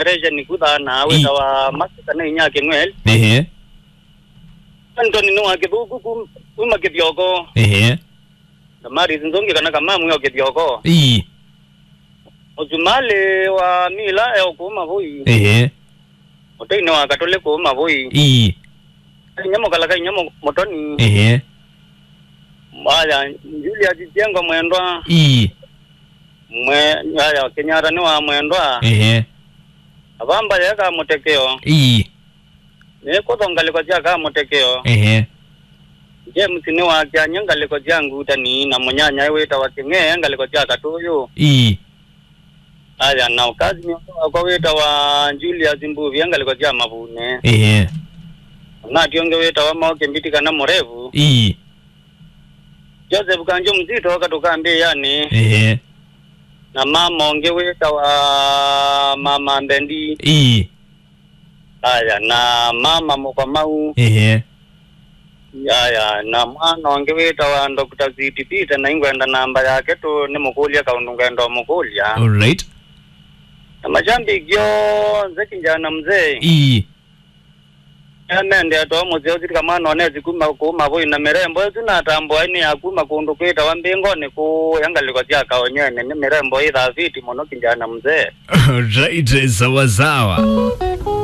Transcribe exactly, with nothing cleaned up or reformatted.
Meresha nĩkuthaa na wĩtawa Masika na inya Kĩng'weli. Ehe. Antoni nĩ wa Kĩthũku kum-, kuma Kĩthyoko. Ehe. Damaris Nzũngĩ kana Kamamu yo Kĩthyoko. Ii. Mũsumalĩ wa Mila e o kũu Mavũi. Ehe. Mũteinĩ wa Katũlĩ kũu Mavũi. Ii. Inyia mũkalaka inyia mũ-, mũtoni. Ehe. Aya, Julius Kyengo mwendwa. Ii. Mwe-, aya, Kenyatta nĩ wa mwendwa. Ehe. Avamba yeka mũtekeo. Ii. Nĩ kũtho ngalĩko sya Kamũtekeo. Ehe. James nĩ wa Kyanya ngalĩko sya Ngutani na mũnyanya wĩtawa Kĩng'ee ngalĩko sya Katũyũ. Ii. Aya, na ũkazi nĩ ũndũ wakwa wĩtawa Julius Mbuvia ngalĩko sya Mavune. Ehe. Na ati ũngĩ wĩtawa Maoke Mbiti kana Mũrevu. Ii. Joseph Kanjo Mzito katũkambĩĩanĩ. Ehe. Na mama ũngĩ wĩtawa Mama Mbendi. Ii. Aya, na mama Mũkomau. Ehe. Aya, na mwana ũngĩ wĩtawa Doctor Sweet Peter, na ingwenda namba yake tu nĩ mũkũlya kaũndũ ngwenda ũmũkũlya. All right. Na mashambiki onthe kijana mzee. Ii. Amende atwa mũseo sirika mwana onesi kuma kuma voi na mirembo ĩsu natambũa nĩ ya kuma kũndũ kwĩtawa Mbĩngonĩ kũya ngalĩko sya Kaonyene. Nĩ mirembo ĩ thaviti mũno kijana mzee. All right, sawa sawa.